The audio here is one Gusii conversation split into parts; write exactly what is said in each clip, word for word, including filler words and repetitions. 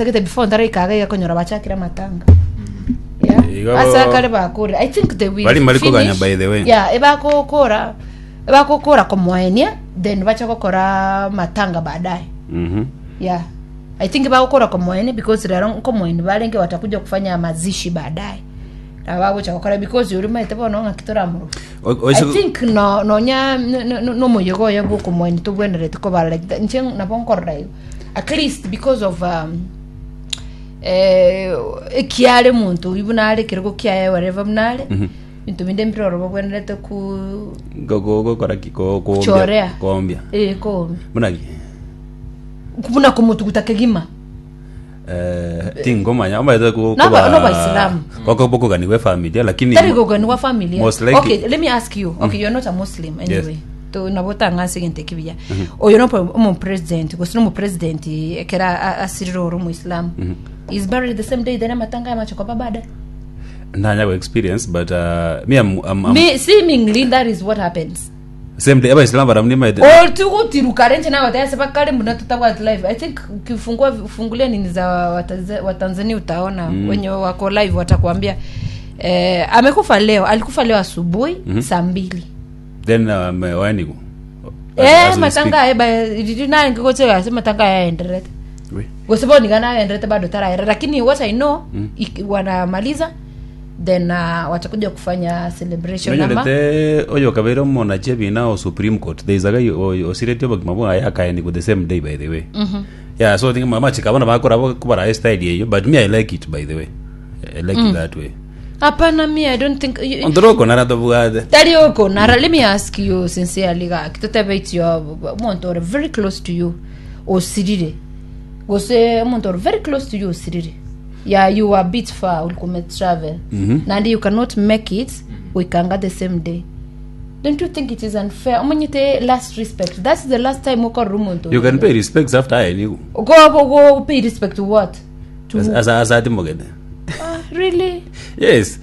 Gete before ntaraika iga konyora bachakire amatanga. Yeah. Igo- Ase akare bakure. I think they will Bari mbari koganya finish. by the way. Yeah, ebakokora ebakokora komoenia then bacha gokora matanga baadaye. Mhm. Yeah. I think bagokora komoenia because rero nkomoeni barenge watakuja kufanya mazishi baadaye. Na bagocha gokora because uri maete bono ng'aki toramuru. O- I oise- think no nonya nomoyega oyo bwokomoeni tobwenerete kobara like that. Inche nabo nkorora igo. At least because of um, eh, ekiare omonto oywo buna are ekerogo kiaye whatever buna are binto binde mbiroro bobwenerete ku Go- go- gokora ki? Ko- koombia- Kuchorea. koombia eh, koombia buna ki buna komotuguta kegima Eh, tingomanya omanyete ku- Naba- koba- n'Abaisilamu. koko bokoganigwa efamilia lakini tari goganigwa familia Most likely. okay let me ask you okay you're not a muslim anyway Yes. to nabo tang'anse egento ekibuya oyo nopo omopresident gose nomopresident ekera a- asirire ore omoislamu is buried the same day then amatanga amache koba baadaye ndanya go experience but uh, me I'm, I'm, I'm Me, seemingly that is what happens same day abaisilamu baramuni maete otugutiruka renje nawe tayase bakale mbona tutabwati live i think ukifungua ufungulia nini za Watanz- watanzania utaona mm. wenye wako live watakuambia eh, amekufa leo alikufa leo asubuhi mm-hmm. saa mbili then um, waenigu eh matanga eba rinangikocheka matanga yaenderete gosebonikana aenderete bado taraera lakini what i know mm. wanamaliza then uh, watakuja kufanya celebration ama nonyolete oyo kabeire omonachi ebina o supreme court there is a guy o- osiretie obogima bwaye akaenigu the same day by the way yeah so think machika abana bakora kubara style eyo but me i like it by the way i like it that way hapana me i don't think you- ontoroko nara tobwate tari oko nara let me ask you sincerely gaki totebe it's your omonto ore very close to you osirire gose omonto ore very close to you osirire yeah you were a bit far ulikuwa travel mm-hmm. nandi you cannot make it wikanga the same day don't you think it is unfair omanyete last respect that's the last time okorora omonto you can pay respects after aenigu go go go pay respect to what to asa asatimogete ah, really yes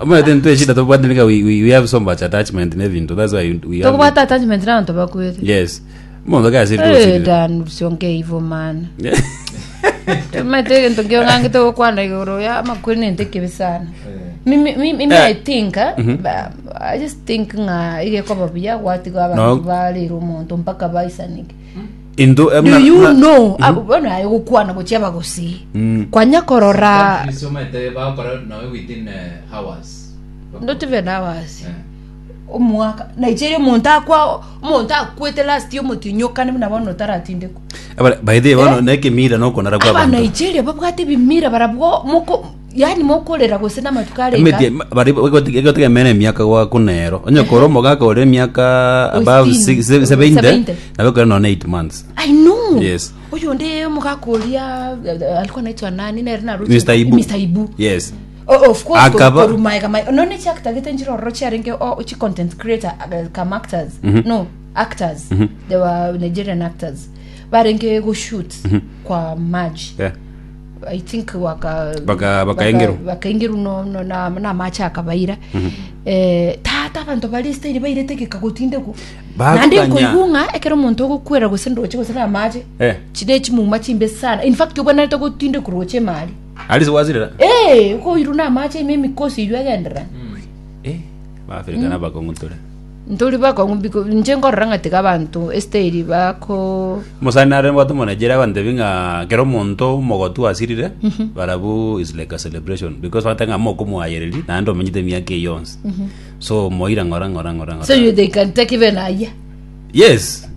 omanyete ntwechida tobwate nika we, we, we have so much attachment nebintu that's why we have tokubata attachment nabantu bakwete yes mondo Eh, kasirire dan usiongee hivyo man mate ngio ngangi tokwana igoro ya makwiri nente kibi sana mimi mimi mimi Eh. i think eh, ba- i just think nga igekoba buya gwatiga No. abantu barira omonto mpaka baisanike into do you know abo bono aye gokwana gochia bagosi kwanya korora Countries omanyete bagokora nawe within eh, hours not even hours Eh. omwaka nigeria omonto akwa omonto akwete last year omotinyokane buna bono taratindekwa by the way bono nekemira nokonara kwa aba bantu nigeria babwate ebimira barabwo moko yani mokorera gose namatuko areka Emetie- bari egotegemera emiaka gwakunero onye kora omogaka ore emiaka above Sixteen. six- se- seventy Seventy. nabekore none eight months i know Yes. uyu ndi omogaka oria eh, alikuwa naitwa nani nere naruti Mr. Ibu. Mr. Ibu yes O- of course Akaba- korumaega mai none chiactagete njirororo chiarenge o chi content creator eh, kam actors no actors they were nigerian actors barenge goshoot kwa maji yeah. i think waka Baka- bakaingerwa. bakaingerwa no, no, na, na machi akabaira eh, tata abanto bari style bairetegeka gotindekwo Bakoganya. nandi nkoigung'a ekero omonto ogokwera gose ndoche gose na amache Eh. chine chimuma chimbe sana in fact obwanarete gotindekwa roche emari alisi wazirira Eh, okoirwa na amache ime emikosi eywo egenderera eh baafrika nabakong'utore ntori bakong'u biko inche nkorora ng'a tiga abanto estyle bako mosani nare mbwate omonaigeria abantebi ng'a kero omonto omogotu asirire barabu is like a celebration because bate ng'a mokomwayereri naende omenyete emiaka eywo yonsi so moira ng'ora ng'ora ng'ora ng'ora so you, they can take even a year yes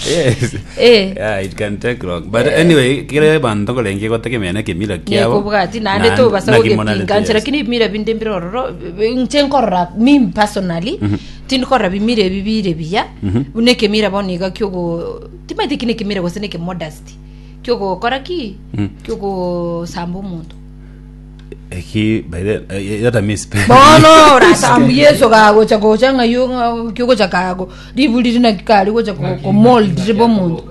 yes eh yeah it can take long but anyway kire bantu kolenge gotegemea nekemira kiabo nekobwati naende na- tobasa nakimonarete, gogepinga nche yes. lakini ebimira binde mbire ororo nche nkorora mi personally tindikorora bimira ebi bire biya buna ekemira bono iga kiogo timaete ki nekemira gose nekemodest kiogokora ki kiogosamba omonto Eki by the eh, that I miss bono orasamba yeso kagocha gocha ng'ayo ng'a- kiogocha kago riburi rina kari gocha komold ribe omonto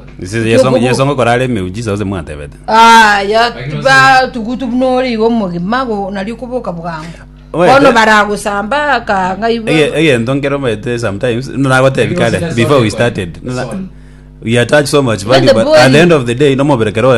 yesongo korare emiujiza ose mwatebete aya Lakini ba tugutu bunori igo omogima go nari koboka bwango Oe, bono te- baragosamba kanga ibo egento nkero maete sometimes nagotebi kare Lakini before we sorry, started sorry. We attach so much Even value the but body. at the end of the day no moberekero.